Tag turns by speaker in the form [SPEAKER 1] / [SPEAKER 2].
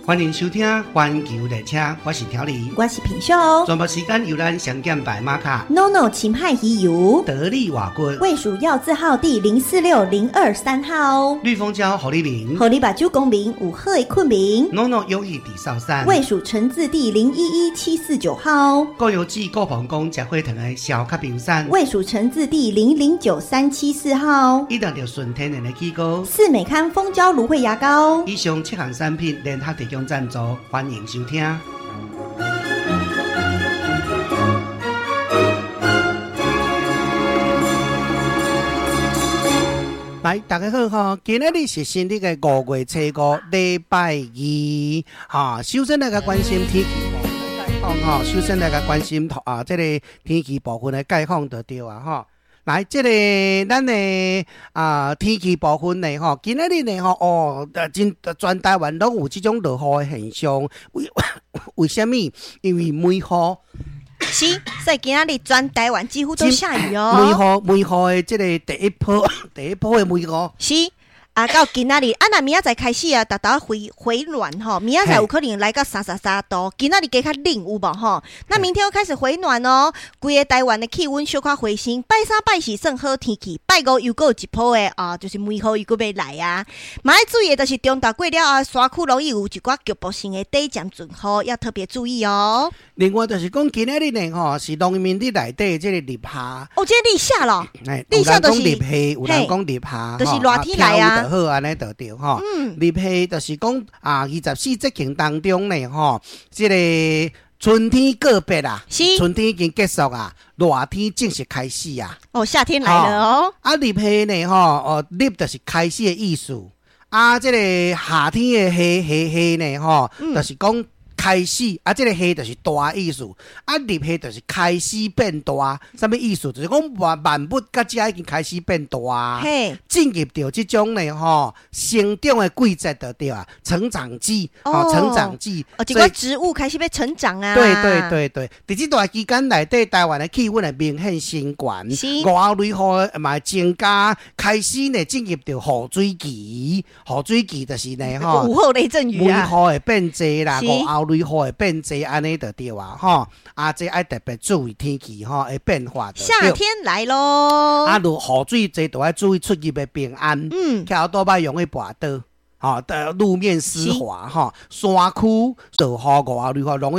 [SPEAKER 1] 歡迎收聽《環球列車》，我是調理，
[SPEAKER 2] 我是品秀。
[SPEAKER 1] 全部時間由咱上減白馬卡
[SPEAKER 2] ，NONO 琴派魚油，
[SPEAKER 1] 得力瓦骨，
[SPEAKER 2] 衛署藥字號第046023號，
[SPEAKER 1] 綠蜂膠予你眠，
[SPEAKER 2] 予你目睭光明有好的睏眠
[SPEAKER 1] ，NONO 友誼地少山，
[SPEAKER 2] 衛署成字第011749號，
[SPEAKER 1] 高油脂高膀胱食火糖的消卡冰山，
[SPEAKER 2] 衛署成字第009374號，
[SPEAKER 1] 以上就純天然的起膏，
[SPEAKER 2] 四美康蜂膠蘆薈牙膏，
[SPEAKER 1] 以上七項產品聯合提供贊助，歡迎收聽。來，大家好吼！今仔日是新曆的5月初5，禮拜二，哈。首先來共關心天氣部分的概況吼，首先來共關心啊，這個天氣部分的概況就對啊，吼。來，這個咱的啊天氣部分呢，吼，今仔日呢，吼，哦，真全台灣攏有這種落雨的現象。為為啥物？因為梅雨。
[SPEAKER 2] 是，所以今仔日全台灣幾乎都下雨哦。
[SPEAKER 1] 梅雨，梅雨的這個第一波，第一波的梅雨。
[SPEAKER 2] 是。啊，到今仔日，啊，若明仔載開始啊，逐逐回回暖吼，明仔載有可能來到33度，今仔日加較冷有無吼？那明天又開始回暖哦，規个台灣的氣溫小可回升，拜三拜四算好天氣，拜五又閣有一波的啊，就是梅雨又閣欲來啊。嘛愛注意的就是中晝過了後，山區容易有一寡局部性的短暫陣雨，要特別注意哦。
[SPEAKER 1] 另外就是講今仔日呢吼，是農曆內底這個立夏。
[SPEAKER 2] 哦，這個立夏咯。
[SPEAKER 1] 立夏就是有人講立夏，有人講立夏，
[SPEAKER 2] 就是熱天來啊。
[SPEAKER 1] 好，按呢就對吼。立夏就是講啊，24節氣當中呢，吼，這個春天告別啦，春天已經結束啊，熱天正式開始啊。
[SPEAKER 2] 哦，夏天來了哦。
[SPEAKER 1] 啊，立夏呢，吼，哦，立就是開始的意思。啊，這個夏天的夏夏夏呢，吼，就是講開始啊，這個夏就是大意思，啊，立夏就是開始變大，啥物意思？就是講萬萬物佮遮已經開始變大，進入著這種呢吼成長的季節就對啊，成長季，哦，成長季，
[SPEAKER 2] 哦，這個植物開始欲成長啊。
[SPEAKER 1] 對對對對，佇這段期間內底，台灣的氣溫會明顯升懸，午後雷雨嘛會增加，開始呢進入著雨水期，雨水期就是呢吼，
[SPEAKER 2] 午後雷陣雨啊，
[SPEAKER 1] 梅雨會變濟啦，午後雷雨會變濟，按呢就對啊，吼！啊，這愛特別注意天氣吼會變化。
[SPEAKER 2] 夏天來囉！
[SPEAKER 1] 啊，落雨水濟，就愛注意出入的平安。騎歐多擺容易跋倒，吼，路面濕滑，吼，山區落雨午後雷雨容易。